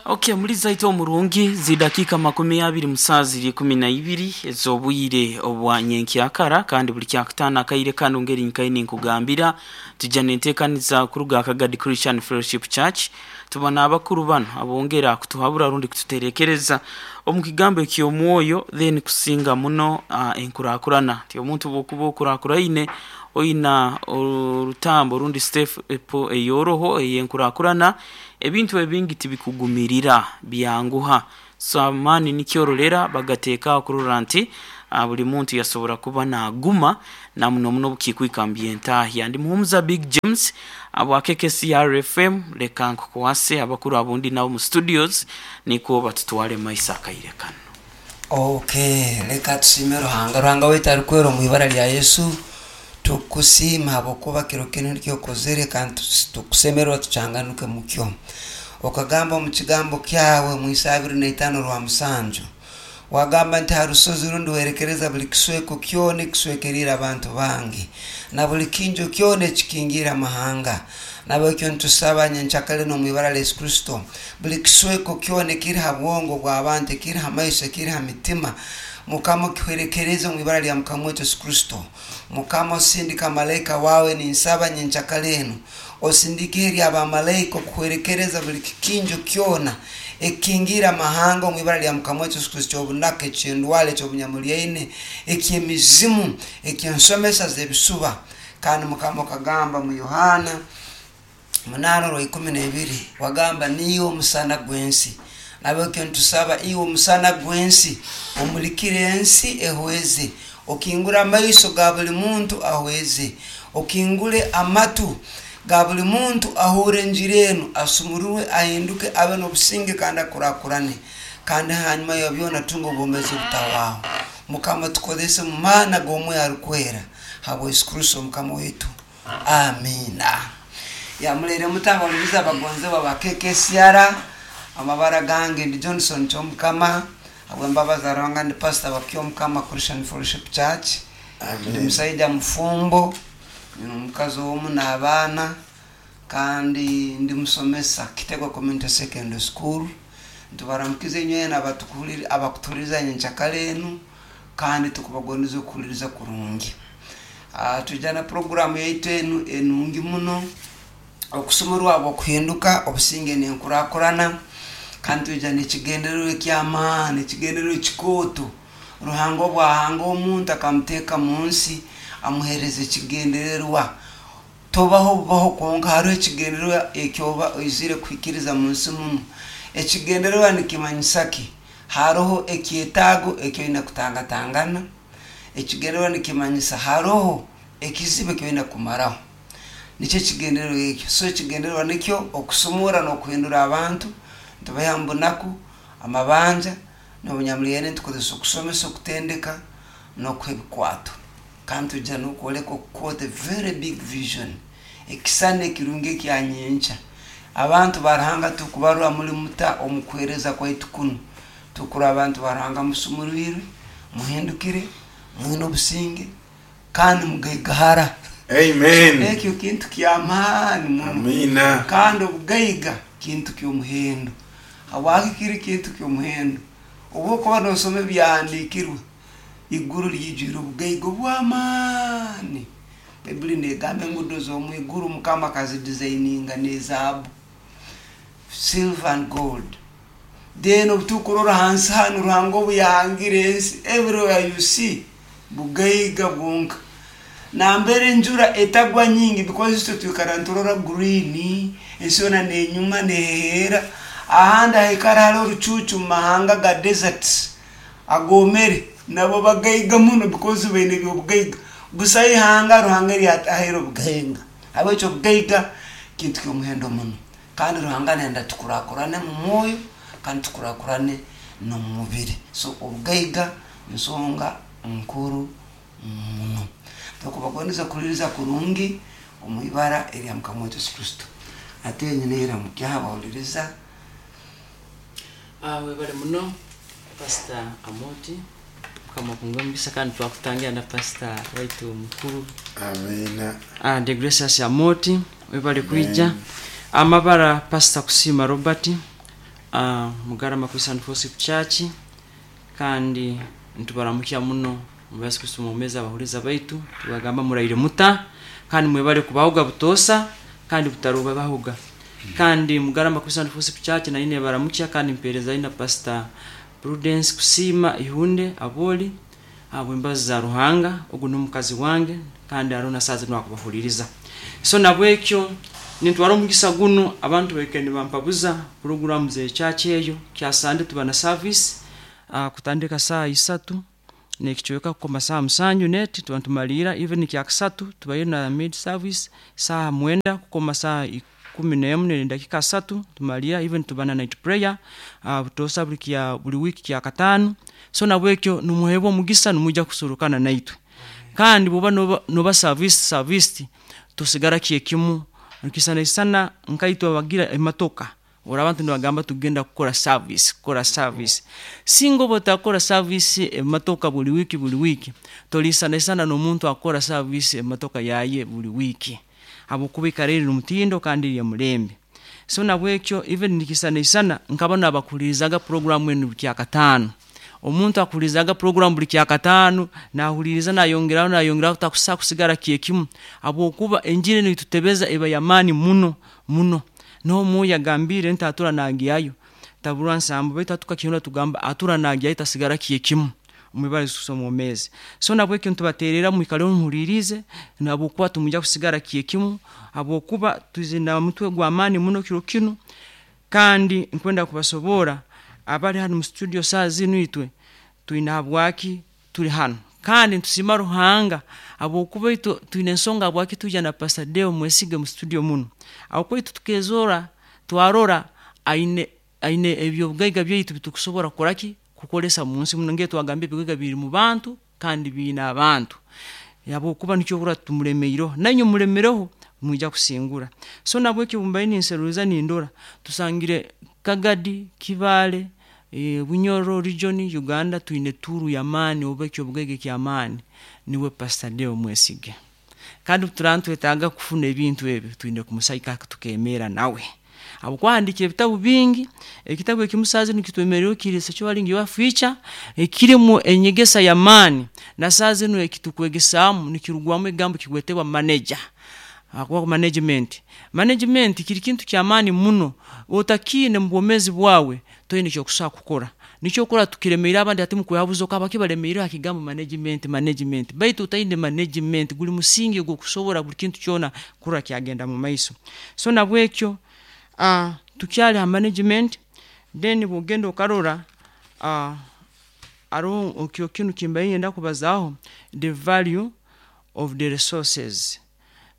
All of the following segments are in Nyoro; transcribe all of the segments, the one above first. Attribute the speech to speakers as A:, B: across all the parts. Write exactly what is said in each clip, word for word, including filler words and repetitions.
A: Okay, muliza ito omurungi, zidakika makumi abiri musaa ziri ikumi na ibiri ez'obwire obwa nyenkyakara. Kandi buli kyakutaano akaire kano, ngeri nkaini nkugambira, tujja nenteekaniza kuruga Akagadi Christian Fellowship Church. Tuba n'abakuru bano abongera kutuhabura rundi kututerekereza omu kigambo eky'omwoyo, then kusinga muno uh, enkurakurana ti omuntu bwokuba okurakuraine oyina orutambo rundi step eyoroho ey'enkurakurana, ebintu ebingi tibikugumirira, byanguha. So amaani nikyorolera bagateekaho kurora nti uh, buli muntu yasobora kuba naguma na muno muno bukikwika mubyentahya. Ndi Muhumuza Big James abwa K K C R F M. Leka nkukwase abakuru abundi nabo mu studios nikwo batutwale maiso akaire kano.
B: Okay, leka tusime Ruhanga. Ruhanga waitu arikwera, omu ibara lya Yesu tukusiima habwokuba kiro kinu nikyo okozere, kandi tukusemererwa tucyanganuke mukyo. Okagamba omu kigambo kyawe mu Isa abiri na itaano rwa musanju, wagamba nti ha rusozi rundi werekereza buli kisweko kyona ekiswekerire abantu bange na buli kinjo kyona ekikingiire amahanga. Nabwekyo nitusaba nyenkyakare n'omu ibara lya Yesu Kristo, buli kisweko kyona ekiri ha bwongo bw'abantu, ekiri ha maiso, ekiri ha mitima, Mukama okihwerekereze omu ibara lya Mukama wetu Yesu Kristo. Mukama, osindika malaika wawe. Ninsaba nyenkyakare enu osindike eri abamalaika okuhwerekereza buli kikinjo kyona ekingira amahanga omu ibara lya Mukama wetu Yesu Kristo, ekyobunaka, ekyendwara, ekyobunyamuliaine, ekyemizimu, ekyensomesa z'ebisuba. Kandi Mukama, okagamba mu Yohana munaana orwa ikumi n'ebiri, wagamba niiwe omusana gw'ensi. Nabwekyo nitusaba iwe omusana gw'ensi omulikire ensi ehweze, okingure amaiso ga buli muntu ahweze, okingule amatu ga buli muntu ahure enjiri enu, asumururwe, ahinduke, abe n'obusinge kandi akurakurane, kandi hanyuma ya byona atunge obwomezi obutahwaho. Mukama, tukozese mu maana g'omwoyo arukwera, habwa Yesu Kristo Mukama waitu, amina. Yamulere mutanga abagonzebwa ba K K C R. Amabara gange ndi Johnson Kyomukama. Habwembabazi za Ruhanga ndi pastor wa Kyomukama Christian Fellowship Church. Ndi musaija mufumbo, nyina omukazi omu n'abaana, kandi ndi musomesa Kitego Community Secondary School. Ntubaramukize inywena abakutuhuliriza nyenkyakare enu, kandi tukubagondeza okuhuliriza kurungi. Ah, twija na programu yaitu enu enungi muno, okusumarwa okuhinduka, obusinge nenkurakurana. Kandi twija nekigendererwa ekyamaani, ekigendererwa ekikooto. Ruhanga obwahanga omuntu akamuteeka mu nsi, amuhereza ekigendererwa. Tobaho bubaho kwonka, hariho ekigendererwa ekyoba oizire kuhikiriza mu nsi muno. Ekigendererwa nikimanyisa ki? Haroho ekyetaago ekyoine kutangatangana. Ekigendererwa nikimanyisa haroho ekizibu ekyoine kumaraho, nikyo ekigendererwa ekyo. So ekigendererwa nikyo okusumura n'okuhindura abantu, ntubaha mu bunaku, amabanja n'obunyamulyene. Ntukozesa okusomesa, okutendeka n'okuha ebikwato, kandi twija n'okwoleka okukwota very big vision, ekisani ekirungi ekyanyenkya. Abantu ba Ruhanga, tukubarwa muli muta omu kuheereza kwaitu kunu? Tukura abantu ba Ruhanga musumurwirwe, muhindukire, mwine obusinge kandi mugaigahara.
C: Amen.
B: Ekyo kintu kyamaani muno.
C: Amina.
B: Kandi obugaiga kintu ky'omuhendo. Habwaki kiri kintu ky'omuhendo? Obu okuba nosoma ebyahandiikirwe, iguru lyijwire obugaiga obw'amaani. Baibuli negamba engudo z'omu iguru Mukama akazidesigninga n'ezaabu, silver and gold. Then obutukurora hansi hanu, Ruhanga obu yahangire ensi, everywhere you see bugaiga bwonka. Nambere enjura etagwa nyingi, because itwe twikara niturora green, ensi yoona nenyuma neheera. Ahandi haikara hariho orucuucu, mu mahanga ga deserts agomere, nabo bagaiga muno because baine ebyobugaiga. Busaho ihanga Ruhanga eryatahaire obugaiga. Habwekyo obugaiga kintu ky'omuhendo muno, kandi Ruhanga nenda tukurakurane mu mwoyo kandi tukurakurane n'omu mubiri. So obugaiga nsonga nkuru muno. Tukubagondeza kuhuliriza kurungi omu ibara erya Mukama waitu Yesu Kristo. Ate nyina eramukyaha bawuliriza.
D: Ah, webale muno, Pastor Amoti. Mukama akunga omugisa, kandi twakutangira na pastor waitu mukuru.
C: Amina.
D: Ah, de Gracious Amoti, webale kwija. Amabara Pastor Kusima Robert. uh, Mugarama Christian Fellowship Church, kandi ntubaramukya muno mu Yesu Kristo mumeza abahuriza baitu, tubagamba muraire muta kandi mwebale kubahuga butosa kandi butaruba bahuga. Kandi Mugarama Christian Fellowship Church na ine baramukya kandi mpereza ina Pastor Prudence Kusima Ihunde Aboli abo embazi za Ruhanga, ogu n'omukazi wange kandi arona sazi nwakubahuliriza. So nabwekyo nintwara omugisa guno abantu baike nibampabuza program ze church eyo kyasande tuba na service uh, kutandika saa isatu nekichweka ku masaa musanju neti tuba tumalira even kyakasatu tubayo na mid service saa mwenda ku masaa ikumi n'emu ne dakika satu tumalira even tuba na night prayer uh, butosa buli kya buli wiki kya katano. So nabwekyo numuhebwa omugisa numuja kusurukana naitwe kandi buba noba, noba service service tusigara kyekimu nkisana isana nkaitwa bagira ematoka ora abantu nibagamba tugenda kukora service kukora service singo botakora service ematoka buli wiki buli wiki tolisana isana n'omuntu akora service ematoka yaye buli wiki habwokuba rero mutindo kandi ya mulembe. So nabwekyo even nikisana isana nkabona abakulirizaga program enu buli kyakatano omuntu akulizaga program buli kyakatano nahuliriza nayongeraho nayongeraho takusa kusigara kyekimu habwokuba enjiri nitutebeza eba yamani muno muno no muya gambire ntatura nagiyayo tabura nsambu baitu atukakihunda tugamba atura nagiyayo tasigara kyekimu umwibali kusoma omeze. So nabwekyo ntubaterera mwikale muhulirize nabwokuba tumuja kusigara kyekimu habwokuba tuzina mutwe gwa amani muno kiro kino. Kandi nkwenda kubasobora abali hano mu studio saa zino itwe tuina habwaki tuli hano kandi ntusima Ruhanga habwokuba itwe tuine ensonga habwaki tuja na Pastor Deo Mwesige mu studio muno habwokuba itwe tukezora twarora aine aine ebyobugaiga byaitu bitukusobora kukoraki kukolesa mu nsi muno nge twagambye ebigaiga biri mu bantu kandi biina abantu habwokuba nikyo kura tumulemeiro nanyo mulemereho mwija kusingura. So nabwekyo bumbaini nseruza nindora tusangire Kagadi Kibale e, Bunyoro region Uganda tuine turu ya mani obekyo bugege kya mani niwe Pastor Deo Mwesige kandi turantu etaga kufuna ebintu ebyo tuine kumusaika tukemera nawe habwokuhandikira ebitabu bingi ekitabu ekimusazi nikitwemerero kiri sechualing your future ekirimu enyegesa ya mani na sazi no ekitukwegesamu nikirugwamu egambo kigwetebwa manager akwa management management kiri kintu kya mani muno otakine mu bwomezi bwawe toyine cyo kusa kukora nicyo kora tukiremeira abandi ati mukwehabuzo kaba kibaremeira akigambo management management baitu utaine management guli musingi gwo kusobora buli kintu kyona kura kyagenda mu maiso. So nabwekyo ah uh, tukyali ha management then bugendo okarora ah uh, aro okyo kinu kimbaye yenda kubazaho the value of the resources.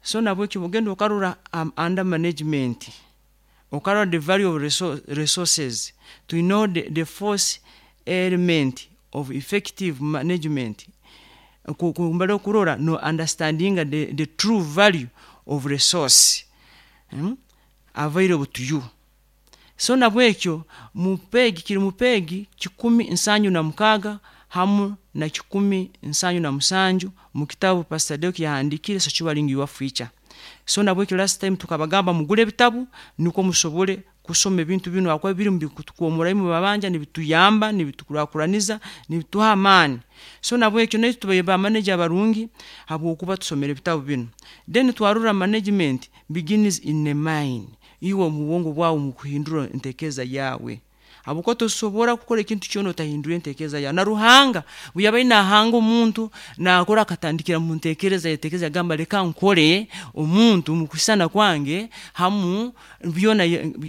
D: So nabwekyo bugendo okarora um, under management okarora the value of resources to know the, the fourth element of effective management kumbale kurora no understanding the, the true value of resource hmm? available to you. So nabwekyo mupegi kiri mupegi kikumi nsanyu na mukaga hamu na kikumi nsanyu na musanju mu kitabu Pastor Deo yahandikire sechualing your future. So nabwekyo last time tukabagamba mugule ebitabu nuko musobole kusoma ebintu bino akwa biri mu bikutukomora mu babanja nibituyamba nibitukurakuraniza nibituha amani. So nabwekyo nayo tubayeba manager abarungi habwokuba tusomera ebitabu bino. Then twarura management begins in the mind iwe mu bwongo bwawe mu kuhindura entekeza yawe habwokuba tosobora kukora ekintu kyona otahindura entekeza yawe. Na Ruhanga buyabaye nahanga omuntu nakora akatandikira mu ntekereza yetekeza yagamba reka nkore omuntu mu kusana kwange hamu byona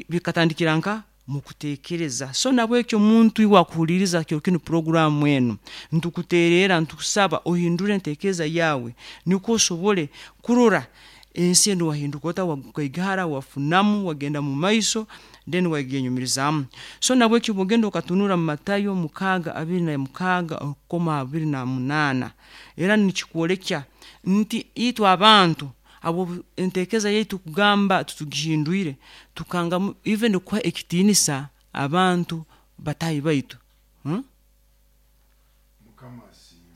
D: bikatandikira nka mu kutekereza. So nabwekyo omuntu iwe akuhuliriza kyo kino program eno ntukuterera ntukusaba ohindure entekeza yawe niko osobole kurora ensi eno wahinduka ota wakaigara wafunamu wagenda mu maiso then wagenyumirizamu. So nabwekyo bugendo okatunura mu Matayo mukaga abiri na mukaga koma abiri na munana era nikikwolekya nti itwe abantu abo entekeza yaitu kugamba tutugihindwire tukanga even kwa ekitinisa abantu batayi baitu hmm?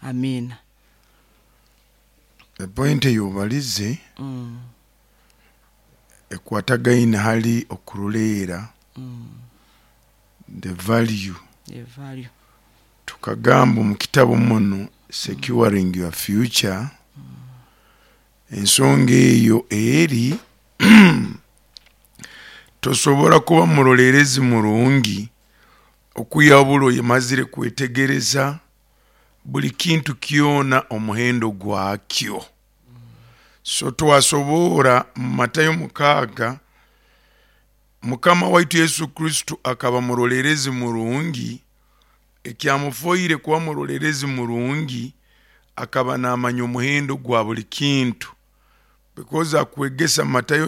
D: Amina.
C: The point yobalize
D: mm.
C: ekwatagaine hali okuruleera
D: mm.
C: The value.
D: The value.
C: Tukagamba omu kitabo muno, Securing Your Future, ensonga eyo eri tosobora kuba murolerezi murungi okuyabura oyemazire kwetegereza buli kintu kyona omuhendo gwakyo. So twasobora mu Matayo mukaaga, Mukama waitu Yesu Kristo akaba murolerezi murungi. Ekyamufoire kuba murolerezi murungi, akaba namanya omuhendo gwa buli kintu, because akwegesa Matayo.